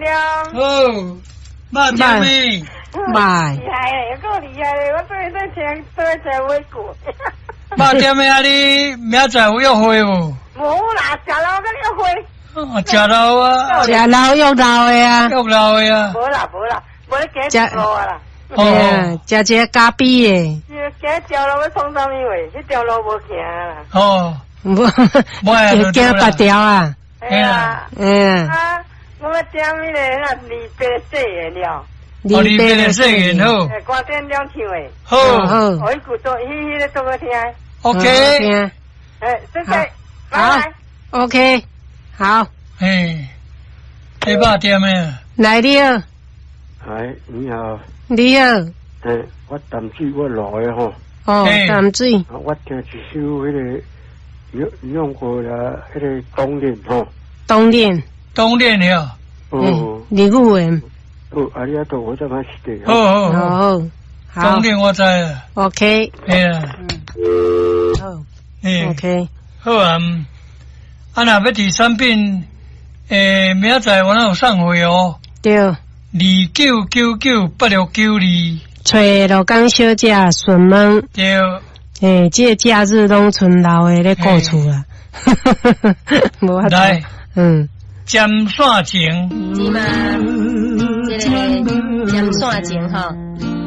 了。好，肉點的？拜。厲害嘞，夠厲害嘞！我做做聽，做聽尾句。肉點的啊！你明仔載有約會無？無啦，食老佮約會。哦，食老啊！食老約老的啊！約老的啊！無啦無啦，無咧行一路啊啦。哦，食一个咖啡的。行一條路欲創啥物話？彼條路無行啦。哦，無，行別條啊。係啊。嗯。啊，我欲點彼个那二八四的了。哦，二八的四个好。歌点兩唱的。好。好。哦，彼句做，彼彼个做好聽。 OK。哎，謝謝。好。OK，好。嘿，你肉點的？來了。哎，你好。你好。欸，我淡水我來的吼。哦，淡水。我聽一首彼个用用過啦，彼个冬戀吼。冬戀。冬戀了。哦。日語的。哦，ありがとうございました。好好好。冬戀我知啊。 OK。嘿啊。嗯。好。嘿。 OK。好啊。啊，若欲佇產品，欸，明仔載我哪有送貨哦。對。29998692。揣鹿港小姐詢問。對。欸，這个假日攏賰老的咧顧厝啦。無法度。來。嗯。針線情。是嗎？這个針線情吼。